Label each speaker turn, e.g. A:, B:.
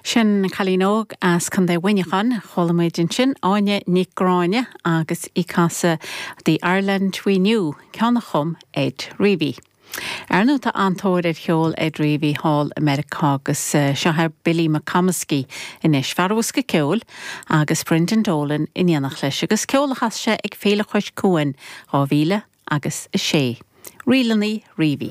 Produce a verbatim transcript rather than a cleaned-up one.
A: Sin cailín óg as Contae Mhuineacháin, chuala muid ansin Áine Nic Gráinne agus í ag casadh The Ireland We Knew, ceann a chum Ed Reavy. Ar ndóigh tá an-tóir ar cheol Ed Reavy thall i Meiriceá agus seo é Billy McComiskey anois fear bosca ceoil agus Brendan Dolan in éineacht leis agus ceol a chas sé ag Féile Chois Cuain dhá mhíle agus a sé. Ríleanna Reavy.